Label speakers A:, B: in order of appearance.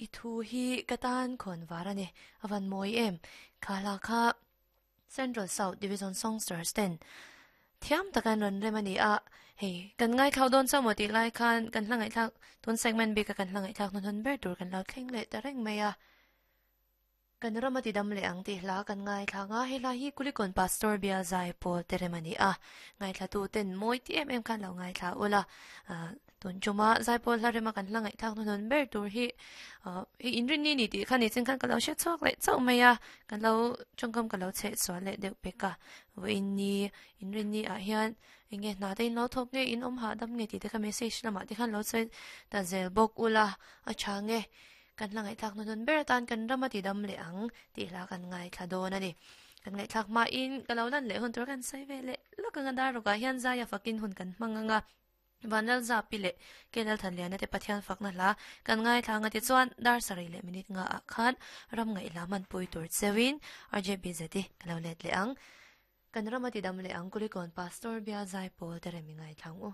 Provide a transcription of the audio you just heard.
A: I thu hi ka tan khawn var a ni. A van mawi em. Kha hla kha Central South Division Songsters ten thiam taka an rawn rem a ni a. Hei, kan ngaithlau dawn chauh maw tih lai khan kan hla ngaihthlak tun segment bika kan hla ngaihthlak hnuhnun ber tur kan lo thleng leh ta reng mai a. Kan ram a ti dam leh ang tih hla kan ngaithla ang a, he hla hi Kulikawn Pastor Bial Zai Pawl te rem a ni a. Ngaithlatu ten mawi ti em em khan lo ngaithla ula. Tun tuma Zai Pawl hla rema kan hla ngaihthlak hnuhnun ber tur hi hei inrinni ni tih kha ni chin khan ka lo hre chhuak leh chauh mai a, kan lo tawngkam ka lo chheh sual leh deuh pek a. Vawiinni inrinni ah hian eng nge hna te in lo thawk nge in awm hahdam nge tih te kha message lamah te khan lo sawi ta zel bawk ula a tha nge. Kan hla ngaihthlak hnuhnun ber atan kan ram a ti dam leh ang tih hla kan ngaithla dawn a ni. Kan ngaihthlak hmain ka lo lan leh hun tur kan sawi ve leh lawk ang a dar rawkah hian zaia fakin hun kan hmang ang a. Vanlal Zapi leh Kelal Thanliana te Pathian fakna hla kan ngaithla ang a tichuan dar sarih leh minute nga ah khan ram ngaihhla hmanpui tur cheuhin RJBZ i ka lo let leh ang. Kan ram a ti dam leh ang Kulikawn Pastor Bial Zaipawl te rem i ngaithla ang u.